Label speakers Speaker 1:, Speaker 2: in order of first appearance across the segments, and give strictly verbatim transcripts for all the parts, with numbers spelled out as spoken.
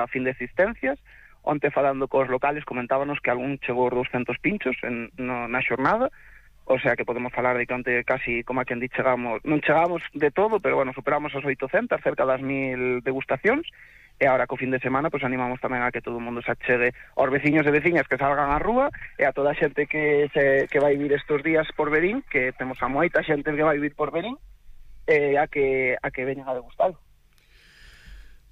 Speaker 1: a fin de existencias. Onte falando cos locales comentábanos que algún chegou os douscentos pinchos en, no, na xornada, o sea que podemos falar de que onte casi, como a quen di, chegamos, non chegamos de todo, pero bueno, superamos as oitocentas, cerca das mil degustacións, e agora co fin de semana pues animamos tamén a que todo o mundo se achegue aos veciños e veciñas que salgan á rúa, e a toda a xente que se, que vai vir estes días por Verín, que temos a moita xente que vai vir por Verín, eh, a que a que veñan a degustalo.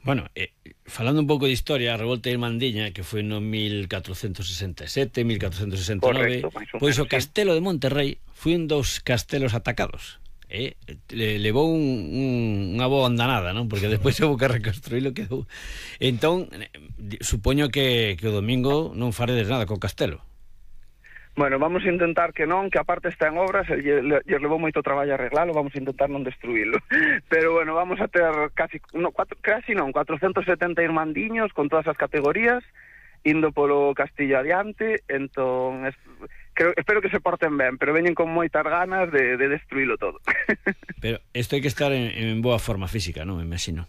Speaker 2: Bueno, eh, falando un pouco de historia, a revolta de Irmandiña, que foi no mil catrocentos sesenta e sete, mil catrocentos sesenta e nove,
Speaker 1: correcto,
Speaker 2: pois o castelo de Monterrey foi un dos castelos atacados. Eh? Le, levou un, un, unha boa andanada, non? Porque despois houve que reconstruílo, quedou. Entón, supoño que, que o domingo non faredes nada co castelo.
Speaker 1: Bueno, vamos a intentar que non, que aparte está en obras, e lle levou moito traballo arreglalo, vamos a intentar non destruílo. Pero bueno, vamos a ter casi, no, cuatro, casi non, cuatrocentos setenta irmandiños con todas as categorías, indo polo castillo adiante, entón, es, creo, espero que se porten ben, pero veñen con moitas ganas de, de destruílo todo.
Speaker 2: Pero isto hai que estar en, en boa forma física, non? Me imagino.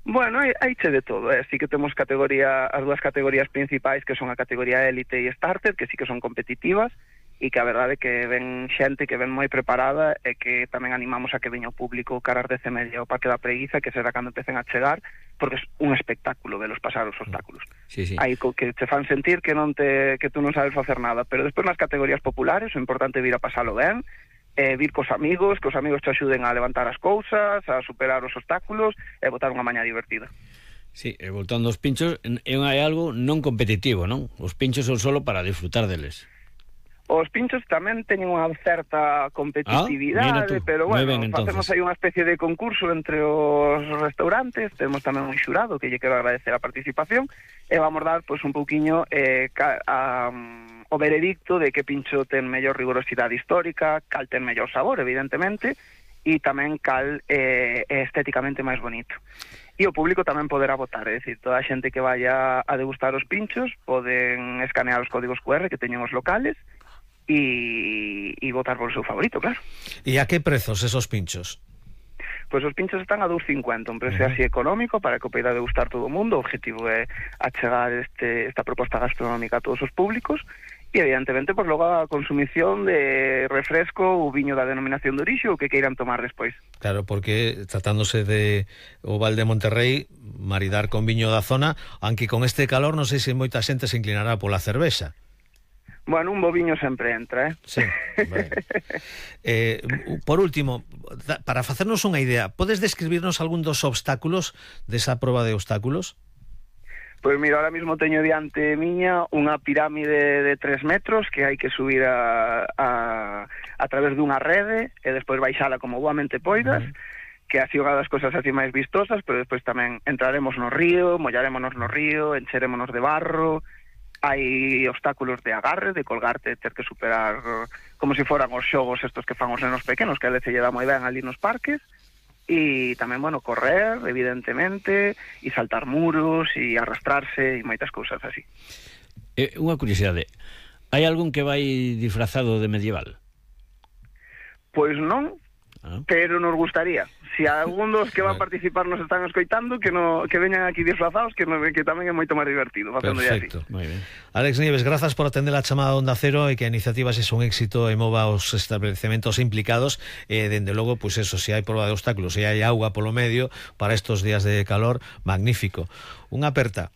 Speaker 1: Bueno, hai, hai che de todo, eh? Sí que temos categoría, as dúas categorías principais, que son a categoría élite e starter, que sí que son competitivas, e que a verdade é que ven xente que ven moi preparada, e que tamén animamos a que veña o público cara ás dez e media o Parque da Preguiza, que será cando empecen a chegar, porque é un espectáculo velos pasar os obstáculos.
Speaker 2: Sí, sí.
Speaker 1: Hai que te fan sentir que non te que tú non sabes facer nada, pero despois nas categorías populares o importante é vir a pasalo ben, eh, vir cos amigos, que os amigos te axuden a levantar as cousas, a superar os obstáculos e botar unha mañá divertida.
Speaker 2: Sí, e voltando aos pinchos, é algo non competitivo, non? Os pinchos son solo para disfrutar deles.
Speaker 1: Os pinchos tamén teñen unha certa competitividade, ah, pero bueno, ben, facemos aí unha especie de concurso entre os restaurantes, temos tamén un xurado que lle quero agradecer a participación, e vamos dar pois, un pouquiño eh, a, a, o veredicto de que pincho ten mellor rigorosidade histórica, cal ten mellor sabor, evidentemente, e tamén cal eh, é estéticamente máis bonito. E o público tamén poderá votar, é dicir, toda a xente que vaya a degustar os pinchos poden escanear os códigos cu erre que teñen os locales e, e votar por o seu favorito, claro.
Speaker 3: E a que prezos esos pinchos?
Speaker 1: Pois os pinchos están a dos cincuenta, un precio uh -huh. así económico para que o poida degustar todo o mundo. O objetivo é achegar este, esta proposta gastronómica a todos os públicos e evidentemente pois, logo a consumición de refresco ou viño da denominación de orixe ou que queiran tomar despois.
Speaker 3: Claro, porque tratándose de o Val de Monterrey, maridar con viño da zona, aunque con este calor non sei se moita xente se inclinará pola cervexa.
Speaker 1: Bueno, un boviño sempre entra, eh?
Speaker 3: Sí, bueno. eh, por último, para facernos unha idea, podes describirnos algún dos obstáculos desa proba de obstáculos?
Speaker 1: Pois mira, ahora mismo teño diante miña unha pirámide de tres metros que hai que subir a, a, a través dunha rede e despois baixala como boamente poidas, uh -huh. que así unha das cosas así máis vistosas, pero despois tamén entraremos no río, mollarémonos no río, encherémonos de barro. Hai obstáculos de agarre, de colgarte, ter que superar como se foran os xogos estos que fan os nenos pequenos, que a veces lle dá moi ben ali nos parques, e tamén, bueno, correr, evidentemente, e saltar muros, e arrastrarse, e moitas cousas así.
Speaker 2: Eh, unha curiosidade, hai algún que vai disfrazado de medieval?
Speaker 1: Pois non, ah. pero nos gustaría. Si algún dos que van a participar nos están escoitando, que no que veñan aquí disfrazados, que, no, que tamén é moito máis divertido facendo así.
Speaker 3: Perfecto, moi ben. Alex Nieves, grazas por atender a chamada Onda Cero e que a iniciativa se un éxito e mova os establecementos implicados e, dende logo, pois pues eso, se hai proba de obstáculos, se hai auga polo medio para estos días de calor, magnífico. Unha aperta.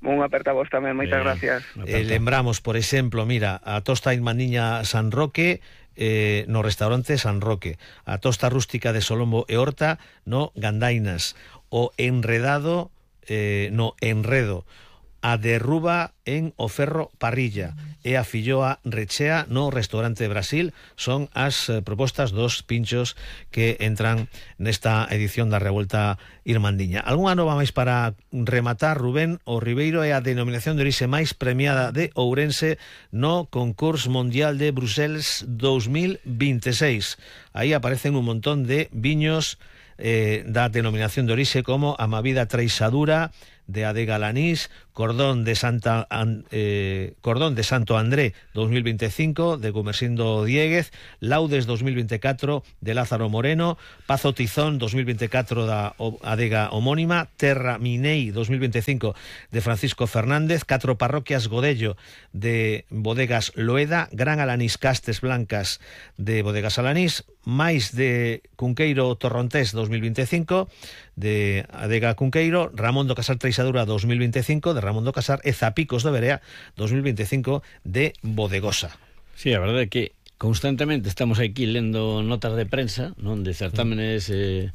Speaker 1: Unha aperta vos tamén, moitas eh, gracias.
Speaker 3: Eh, lembramos, por exemplo, mira, a tosta Irmandiña San Roque, Eh, no restaurante San Roque, a tosta rústica de Solombo e Horta no Gandainas, o enredado eh, no Enredo, a derruba en o Ferro Parrilla e a filloa rechea no restaurante de Brasil. Son as eh, propostas dos pinchos que entran nesta edición da Revolta Irmandiña. Algúnha nova máis para rematar, Rubén? O Ribeiro é a denominación de orixe máis premiada de Ourense no Concurso Mundial de Bruselas dos mil veintiséis. Aí aparecen un montón de viños eh, da denominación de orixe como a Mavida Treixadura de Adega Alanís, Cordón de Santa eh, Cordón de Santo André dos mil veinticinco de Gumersindo Dieguez, Laudes dos mil veinticuatro de Lázaro Moreno, Pazo Tizón dos mil veinticuatro da Adega homónima, Terra Minei dos mil veinticinco de Francisco Fernández, catro parroquias Godello de Bodegas Loeda, Gran Alanís Castes Blancas de Bodegas Alanís, máis de Cunqueiro Torrontés dos mil veinticinco de Adega Cunqueiro, Ramón do Casar Treixadura dos mil veinticinco de Ramón do Casar e Zapicos de Berea dos mil veinticinco de Bodegosa.
Speaker 2: Sí, a verdade é que constantemente estamos aquí lendo notas de prensa, non, de certámenes eh,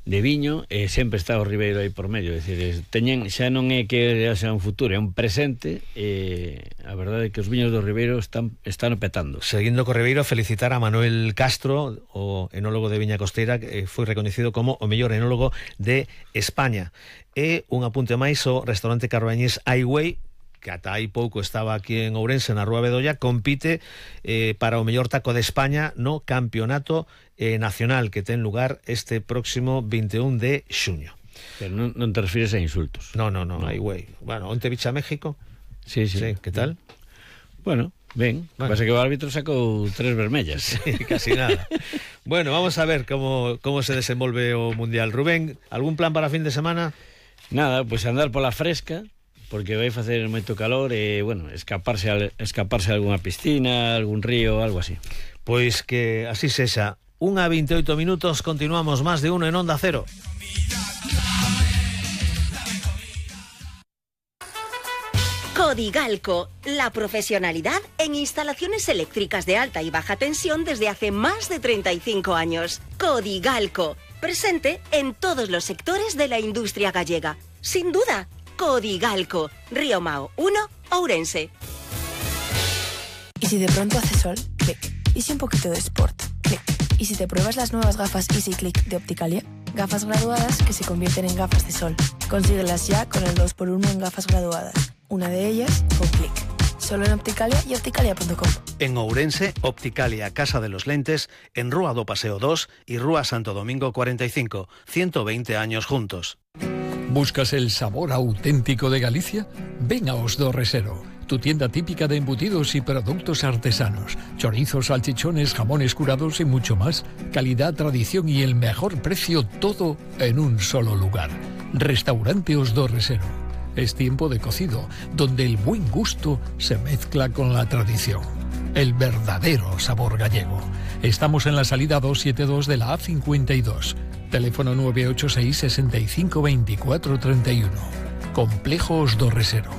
Speaker 2: de viño, e sempre está o Ribeiro aí por medio, é dicir, teñen, xa non é que xa un futuro, é un presente, e a verdade é que os viños do Ribeiro están están petando.
Speaker 3: Seguindo co Ribeiro, felicitar a Manuel Castro, o enólogo de Viña Costeira, que foi reconocido como o mellor enólogo de España. E un apunte máis, o restaurante carbañés Highway, que ata hai pouco estaba aquí en Ourense, na Rúa Bedolla, compite eh, para o mellor taco de España no campeonato eh, nacional que ten lugar este próximo vinte e un de xuño.
Speaker 2: Pero non, non te refires a insultos.
Speaker 3: No, no, no, no. Highway. Bueno, onte bicha México.
Speaker 2: Sí, sí.
Speaker 3: Sí, que tal?
Speaker 2: Bueno, ben, bueno. Pasa que o árbitro sacou tres vermellas.
Speaker 3: Sí, casi nada. Bueno, vamos a ver como, como se desenvolve o Mundial. Rubén, algún plan para fin de semana?
Speaker 2: Nada, pois pues andar pola fresca, porque vai facer moito calor e, bueno, escaparse a, escaparse a algunha piscina, algún río, algo así.
Speaker 3: Pois que así sexa. Unha veintioito minutos, continuamos Más de Uno en Onda Cero.
Speaker 4: Codigalco, la profesionalidad en instalaciones eléctricas de alta y baja tensión desde hace más de treinta y cinco años. Codigalco, presente en todos los sectores de la industria gallega. Sin duda, Codigalco, Río Mao uno, Ourense.
Speaker 5: ¿Y si de pronto hace sol? Clic. ¿Y si un poquito de sport? Clic. ¿Y si te pruebas las nuevas gafas Easy Click de Opticalia? Gafas graduadas que se convierten en gafas de sol. Consíguelas ya con el dos por uno en gafas graduadas. Una de ellas con Clic. Solo en Opticalia y opticalia punto com.
Speaker 3: En Ourense, Opticalia Casa de los Lentes, en Rúa do Paseo dos y Rúa Santo Domingo cuarenta y cinco. ciento veinte años juntos.
Speaker 6: ¿Buscas el sabor auténtico de Galicia? Ven a Os do Resero, tu tienda típica de embutidos y productos artesanos. Chorizos, salchichones, jamones curados y mucho más. Calidad, tradición y el mejor precio, todo en un solo lugar. Restaurante Os do Resero. Es tiempo de cocido, donde el buen gusto se mezcla con la tradición. El verdadero sabor gallego. Estamos en la salida doscientos setenta y dos de la A cincuenta y dos. Teléfono nueve ocho seis, sesenta y cinco, veinticuatro, treinta y uno. Complejo Os do Resero.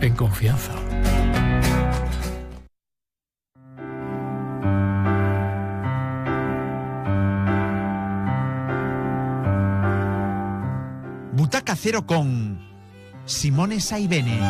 Speaker 6: En confianza.
Speaker 7: Butaca Cero con Simone Saibene.